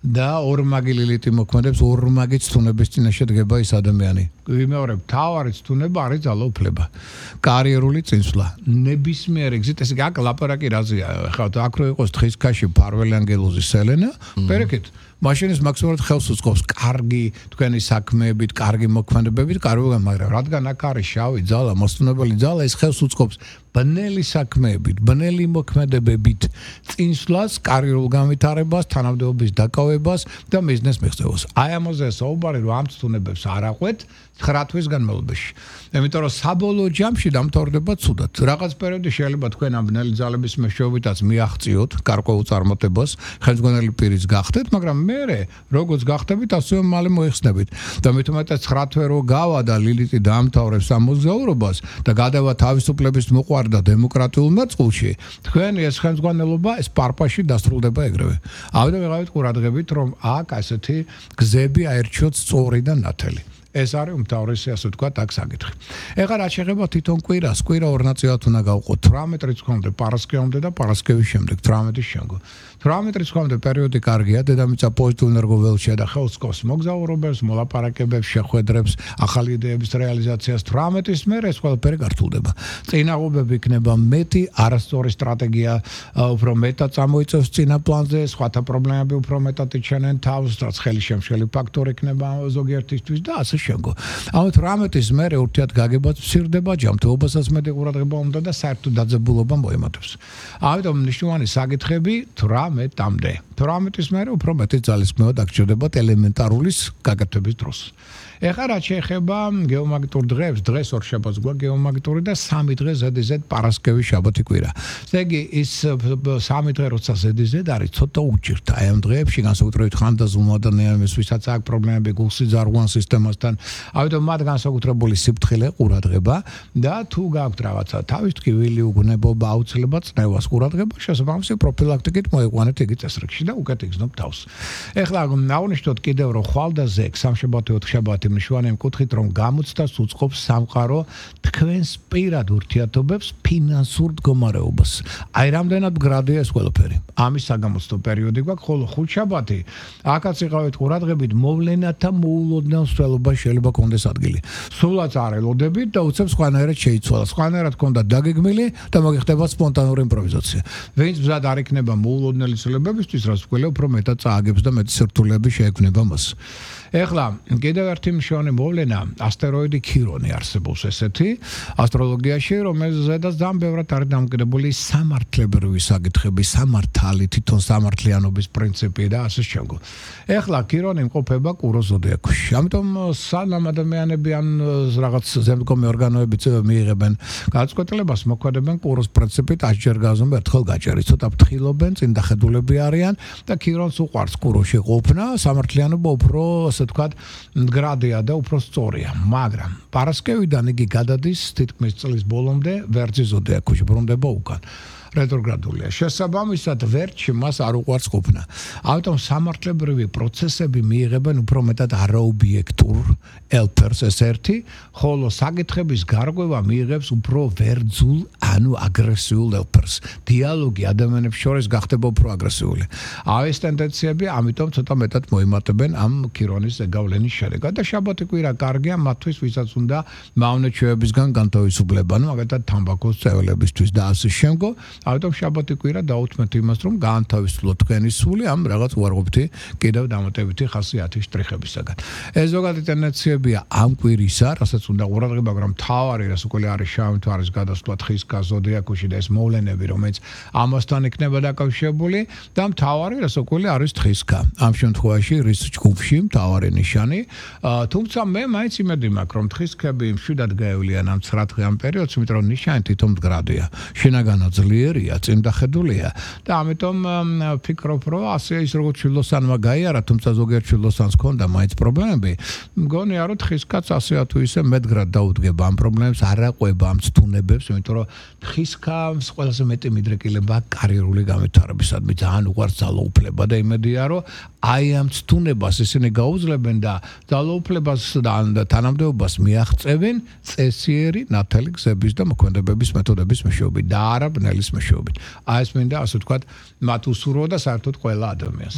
და ორმაგი ლილიტი მოქმედებს, ორმაგი ცთუნების წინაშე დგება ის ადამიანი. ვიმეორებ, თავარი ცთუნება არის ძალაუფლება. კარიერული წინსვლა. ნებისმიერ ეგზით, ესე იგი აქ ლაპარაკი რაზეა? ხა აქ რო იყოს თხის ქაში ფარველი ანგელოზის სელენა, პერეკეთ მაშინის მაქსიმალურად ხელს უწყობს კარგი თქვენი საქმეებით, კარგი მოქმედებებით, კარგულად, მაგრამ რადგან აქ არის შავი ძალა, მოსწონებელი ძალა, ის ხელს უწყობს ბნელი საქმეებით, ბნელი მოქმედებებით, წინსვლას, კარიერულ განვითარებას, თანამდებობის დაკავებას და ბიზნეს მიღწევას. აი ამაზე საუბარი რომ ამ ცდუნებებს არ აყვეთ 9 თვის განმავლობაში. იმიტომ რომ საბოლოო ჯამში დამთავრდება ცუდად. რაღაც პერიოდი შეიძლება თქვენ ამ ბნელი ძალების მეშვეობითაც მიაღწიოთ გარკვეულ წარმატებას, ხელმძღვანელი პირის გახდეთ, მაგრამ მერე როგორც გახდებით, ასევე მალე მოიხსნებით. და მით უმეტეს 9 თვე რო გავა და ლილიტი დაამთავრებს ამ მოგზაურობას და გადავა თავისუფლების მოყვარ და დემოკრატიულ ნაწილში, თქვენი ეს ხელმძღვანელობა ეს პარპაში დასრულდება ეგრევე. ამიტომ ვიღავით ყურადღებით, რომ აქ ასეთი გზები აერჩიოთ სწორი და ნათელი. ეს არის უმთავრესი, ასე ვთქვათ, აქ საკითხი. ეხლა რაც შეეხება თვითონ კვირას, კვირა ორ ნაწილად უნდა გავყოთ. 18 რიცხვამდე პარასკევამდე და პარასკევის შემდეგ 18-ის შემდგომ. 18 რიცხვამდე პერიოდი კარგია, დედამიწა პოზიტიურ ენერგოველშია და ხელს სკობს მოგზაურობებს, მოლაპარაკებებს, შეხვედრებს, ახალი იდეების რეალიზაციას. 18-ის მერე ეს ყველაფერი გართულდება. წინაღობები იქნება მეტი, არასწორი სტრატეგია უფრო მეტად წამოიწევს წინა პლანზე, სხვათა პრობლემები უფრო მეტად იჩენენ თავს, რაც ხელი შემშელი ფაქტორი იქნება ზოგიერთისთვის და ასე შემდგომ. ამით 18-ის მერე ურთიერთ გაგებაც მცირდება, ჯანმრთელობასაც მეტი ყურადღება უნდა და საერთო დაძაბულობა მოემართებს. ამიტომ მნიშვნელოვანი საკითხები 18-მდე. 18-ის მერე უფრო მეტი ძალისხმევა დაგჭირდებათ ელემენტარულის გაკეთების დროს. ეხლა რაც შეეხება გეომაგნიტურ დღეებს, დღეს ორშაბათს გვაქვს გეომაგნიტური და 3 დღე ZZ პარასკევი შაბათი კვირა. ესე იგი ის 3 დღე როცა ZZ არის, ცოტა უჭირთ აი ამ დღეებში განსაკუთრებით ხანდაზმულმა ადამიანებს, ვისაც აქვს პრობლემები გულსიძარღვან სისტემასთან, ამიტომ მათ განსაკუთრებული სიფრთხილე ყურადღება და თუ გაქვთ რაღაცა თავის ტკივილი, უგუნებობა, აუცილებლად წნევას ყურადღება, შესაბამისი პროფილაქტიკით მოიყვანეთ იგი წესრიგში და უკეთ იგრძნობ თავს. ეხლა აღნიშნოთ კიდევ რომ ხვალ და ზეგ სამშაბათი 4 შაბათი მნიშვნელოვანი მკუთხით რომ გამოცდას უწყობს სამყარო თქვენს პირად ურთიერთობებს ფინანსურ მდგომარეობას. აი რამდენად გრადია ეს ყველაფერი. ამის საგამოცდო პერიოდი გვაქვს, ხოლო 5 შაბათი აქაც იყავით ყურადღებით მოვლენათა მოულოდნელ მსვლელობას შეიძლება კონდეს ადგილი. სულაც არ ელოდებით და უცებ სხვანაირად შეიცვალა. სხვანაირად კონდა დაგეგმილი და მოგიხდება სპონტანური იმპროვიზაცია. ვინც მზად არ იქნება მოულოდნელი ცვლილებებისთვის, რაც უკვე უფრო მეტად წააგებს და მეტი სირთულეები შეექმნება მას. ეხლა კიდევ ერთი მნიშვნელოვანი მოვლენა ასტეროიდი ქირონი არსებობს ესეთი ასტროლოგიაში, რომელზედაც ძალიან ბევრად არის დამოკიდებული სამართლებრივი საკითხები, სამართალი, თვითონ სამართლიანობის პრინციპი და ასე შემდგომ. ეხლა ქირონი იმყოფება კუროს ზოდიაქოში. ამიტომ სანამ ადამიანები ან რაღაც ზემდგომი ორგანოები მიიღებენ გადაწყვეტილებას, მოქმედებენ კუროს პრინციპით 10 ჯერ გაზომე ერთხელ გაჭერი. ცოტა ფრთხილობენ, წინდახედულები არიან და ქირონს უყვარს კუროში ყოფნა, სამართლიანობა უფრო ასე ვთქვათ მდგრადია და უფრო სწორია, მაგრამ პარასკევიდან იგი გადადის თითქმის წლის ბოლომდე ვერძის ზოდიაქოში, ბრუნდება უკან. რეტროგრადულია. შესაბამისად ვერტში მას არ უყვარს ყოფნა. ამიტომ სამართლებრივი პროცესები მიიღებენ უფრო მეტად არაობიექტურ ელფერს ეს ერთი, ხოლო საკითხების გარღვევა მიიღებს უფრო ვერძულ, ანუ აგრესიულ ელფერს. დიალოგი ადამიანებს შორის გახდება უფრო აგრესიული. ეს ტენდენციები ამიტომ ცოტა მეტად მოიმატებენ ამ ქირონის ზეგავლენის შედეგად და შაბათი კვირა კარგია მათთვის, ვისაც უნდა მავნეჩვევებისგან განთავისუფლება, ანუ მაგალითად თამბაქოს წევლებისთვის და ასე შემდგომ. ამიტომ შაბათი კვირა დაუთმეთ იმას, რომ გაანთავისუფლოთ თქვენი სული ამ რაღაც უარყოფითი კიდევ დამატებითი ხასიათის შტრიხებისაგან. ეს ზოგადი ტენდენციებია ამ კვირისა, რასაც უნდა ყურადღება, მაგრამ მთავარი რაც უკვე არის შავი მთვარის გადასვლა თხის ზოდიაქოში და ეს მოვლენები, რომელიც ამასთან იქნება დაკავშირებული და მთავარი რაც უკვე არის თხისკა. ამ შემთხვევაში რის ჯგუფში მთავარი ნიშანი, თუმცა მე მაინც იმედი მაქვს, რომ თხისკები მშვიდად გაევლიან ამ 9 დღიან პერიოდს, იმიტომ რომ ნიშანი თვითონ მდგრადია. შინაგანად ძლიერი წინდახედულია და ამიტომ ფიქრობ, რომ ასე ის როგორც შილოსანმა გაიარა, თუმცა ზოგიერთ შილოსანს ჰქონდა მაინც პრობლემები, მგონია რომ თხისკაც ასე თუ ისე მეტგრად დაუდგება ამ პრობლემებს, არ აყვება ამ ცთუნებებს, იმიტომ რომ თხისკას ყველაზე მეტი მიდრეკილება კარიერული განვითარებისადმი, ძალიან უყვარს ძალაუფლება და იმედია, რომ აი ამ ცთუნებას ისინი გაუძლებენ და ძალაუფლებას და თანამდებობას მიაღწევენ წესიერი ნათელი გზების და მოქმედებების მეთოდების მეშვეობით და არა ბნელის მეშვეობით. აი ეს მინდა ასე ვთქვათ, მათ უსურვო და საერთოდ ყველა ადამიანს.